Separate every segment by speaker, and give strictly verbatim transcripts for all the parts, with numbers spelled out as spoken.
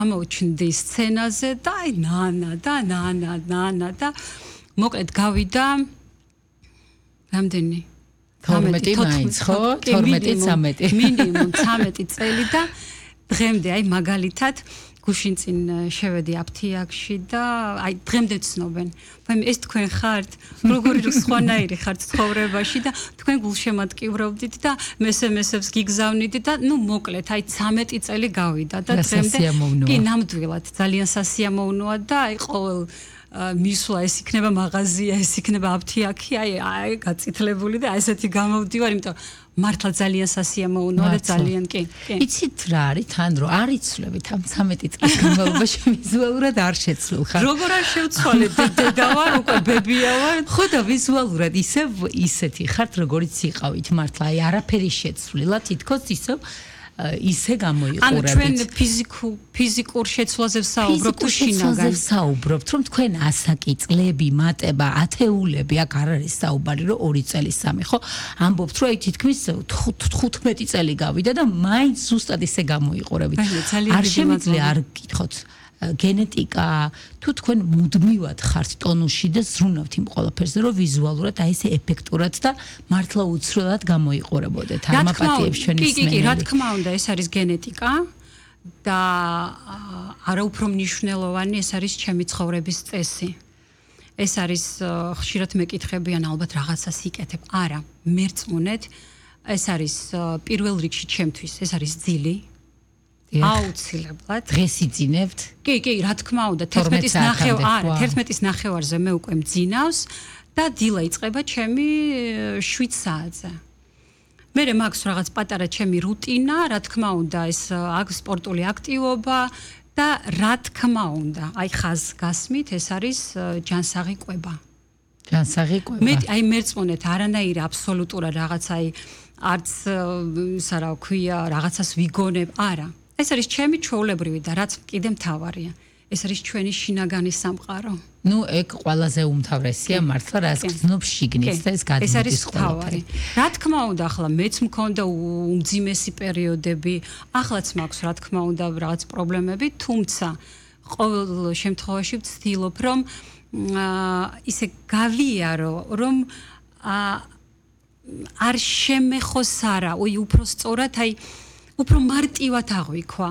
Speaker 1: ამოჩნდი სცენაზე და აი ნანა და ნანა ნანა და მოკლედ გავიდა რამდენი
Speaker 2: თორმეტი მაინც ხო თორმეტი ცამეტი
Speaker 1: მინიმუმ ცამეტი წელი და დღემდე აი მაგალითად გუშინ წინ შევედი აფთიაქში და აი დღემდე ცნობენ. მაგრამ ეს თქვენ ხართ, როგორი სხვანაირი ხართ ცხოვრებაში და თქვენ გულშემატკივრობდით და მესემესებს გიგზავნით და ნუ მოკლედ აი ცამეტი წელი გავიდა და დღემდე კი ნამდვილად ძალიან სასიამოვნოა და აი ყოველ მისვლა ეს იქნება მაღაზია, ეს იქნება აფთიაქი, აი აი გაწითლებული და ესეთი გამოვდივარ, იმიტომ მართლა ძალიან სასიამოვნოა და ძალიან კი.
Speaker 2: იცით რა არის თან რომ არ იცვლებით ამ ცამეტი წლის განმავლობაში ვიზუალურად არ შეცვლილ ხარ.
Speaker 1: როგორ არ შევცვალეთ დედა ვარ უკვე ბებია ვარ.
Speaker 2: ხო და ვიზუალურად ისევ ისეთი ხართ როგორიც იყავით მართლა აი არაფერი შეცვლილა თითქოს ისევ ისე გამოიყურებით.
Speaker 1: ანუ ჩვენ ფიზიკურ ფიზიკურ შეცვლაზე ვსაუბრობთ თუ შინაგან
Speaker 2: ვსაუბრობთ რომ თქვენ ასაკი, წლები, მატება, ათეულები აქ არ არის საუბარი რომ ორი წელი სამი ხო? ამბობთ რომ აი თითქმის თხუთმეტი წელი გავიდა და მაინც ზუსტად ისე გამოიყურებით. არ შემიძლია არ გკითხოთ გენეტიკა თუ თქვენ მუდმივად ხართ ტონუსში და ზრუნავთ იმ ყველაფერზე რომ ვიზუალურად აი ესე ეფექტურად და მართლა უცვლელად გამოიყურებოდეთ ამ აპათიებს ჩვენი
Speaker 1: სმენელი. კი, კი, რა თქმა უნდა ეს არის გენეტიკა და არა უფრო მნიშვნელოვანი ეს არის ჩემი ცხოვრების წესი. ეს არის ხშირად მეკითხებიან ალბათ რაღაცას იკეთებ. არა, მერწმუნეთ ეს არის პირველ რიგში ჩემთვის ეს არის ძილი. აუცილებლად
Speaker 2: დღეს იძინებთ?
Speaker 1: კი, კი, რა თქმა უნდა, თერთმეტის ნახევარ, არა, თერთმეტის ნახევარზე მე უკვე მძინავს და დილა იწყება ჩემი შვიდ საათზე. მერე მაქვს რაღაც პატარა ჩემი რუტინა, რა თქმა უნდა, ეს აქვს სპორტული აქტივობა და რა თქმა უნდა, აი ხაზ გასმით, ეს არის ჯანსაღი კვება.
Speaker 2: ჯანსაღი კვება.
Speaker 1: მე აი მერწმუნეთ არანაირი აბსოლუტურად რაღაც აი არც ისა რა ქვია, რაღაცას ვიგონებ, არა. ეს არის ჩემი ჩვეულებრივი და რაც კიდე მთავარია. ეს არის ჩვენი შინაგანი სამყარო.
Speaker 2: ნუ ეგ ყველაზე უმთავრესია მართლა რაც გრძნობს შიგნით და ეს გადმოდის.
Speaker 1: ეს არის მთავარი. რა თქმა უნდა, ახლა მეც მქონდა უმძიმესი პერიოდები, ახლაც მაქვს რა თქმა უნდა რაღაც პრობლემები, თუმცა ყოველ შემთხვევაში ვცდილობ რომ ისე გავიარო, რომ არ შემეხოს არა, ой, უფრო სწორად აი უფრო მარტივად აღვიქვა.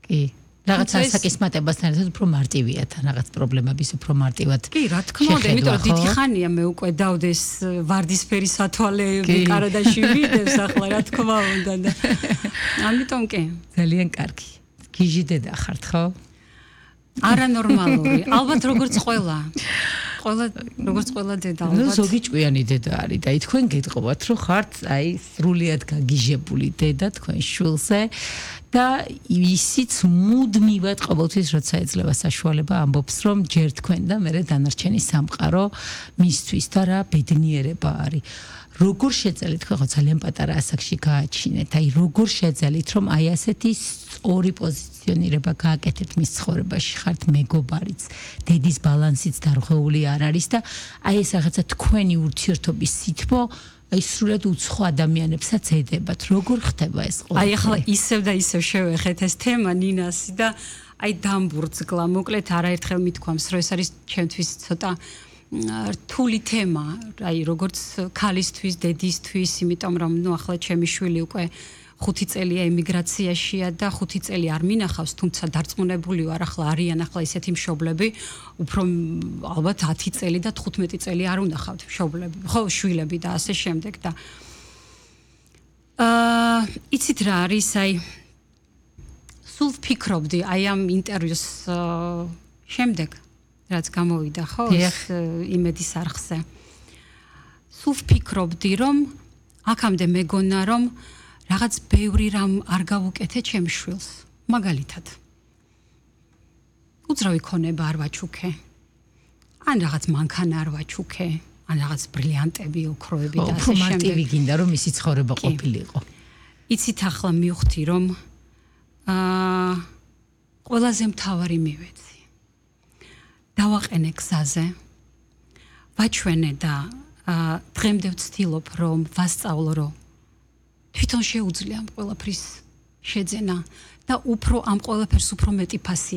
Speaker 2: კი. რაღაც ასაკის მატებასთან ერთად უფრო მარტივია თან რაღაც პრობლემების უფრო მარტივად.
Speaker 1: კი, რა თქმა უნდა, იმიტომ რომ დიდი ხანია მე უკვე დავდეს ვარდისფერი სათვალეები კარადაში ვიდებს ახლა რა თქმა უნდა და ამიტომ კი.
Speaker 2: ძალიან კარგი. გიჟი დედა ხართ ხო?
Speaker 1: არანორმალური. ალბათ როგორც ყველა. ყველა როგორც ყველა დედა ალბათ.
Speaker 2: ნუ ზოგი ჭკვიანი დედა არის და თქვენ გეტყობათ რომ ხართ აი სრულიად გაგიჟებული დედა თქვენ შვილზე და ისიც მუდმივად ყოველთვის როცა ეძლევა საშუალება ამბობს რომ ჯერ თქვენ და მე დანარჩენი სამყარო მისთვის და რა ბედნიერება არის. როგორ შეძალით ხო ძალიან პატარა ასაკში გააჩინეთ აი როგორ შეძალით რომ აი ასეთი ორი პოზიციონირება გააკეთეთ მის ცხოვრებაში ხართ მეგობარიც დედის ბალანსიც დარღვეული არ არის და აი ეს რაღაცა თქვენი ურთიერთობის სითბო აი სრულად უცხო ადამიანებსაც ედებათ როგორ ხდება ეს ყოველთვის
Speaker 1: აი ახლა ისევ და ისევ შევეხეთ ეს თემა ნინასი და აი დამბურძგლა მოკლედ არაერთხელ მithქვამს რომ ეს არის ჩემთვის ცოტა რთული თემა, აი როგორც ქალისთვის, დედისთვის, იმიტომ რომ ნუ ახლა ჩემი შვილი უკვე ხუთი წელია ემიგრაციაშია და ხუთი წელი არ მინახავს, თუმცა დარწმუნებული ვარ, ახლა არიან ახლა ისეთი მშობლები, უფრო ალბათ ათი წელი და თხუთმეტი წელი არ უნდა ხავთ მშობლები, ხო, შვილები და ასე შემდეგ და აა იცით რა არის, აი სულ ვფიქრობდი აი ამ ინტერვიუს შემდეგ რაც გამოვიდა ხო ეს იმედის არხზე. სულ ვფიქრობდი რომ აქამდე მეგონა რომ რაღაც ბევრი რამ არ გავუკეთე ჩემ შვილს. მაგალითად. უძრავი ქონება არ ვაჩუქე. ან რაღაც მანქანა არ ვაჩუქე. ან რაღაც ბრილიანტები, ოქროები და ასე შემდეგ.
Speaker 2: მარტივი გინდა რომ ისი ცხოვრება ყოფილიყო.
Speaker 1: იცით ახლა მივხვდი რომ აა ყველაზე მთავარი მივეცი. დავაყენე გზაზე, ვაჩვენე და დღემდე ვცდილობ რომ ვასწავლო რომ თვითონ შეუძლია ამ ყველაფრის შეძენა და უფრო ამ ყველაფერს უფრო მეტი ფასი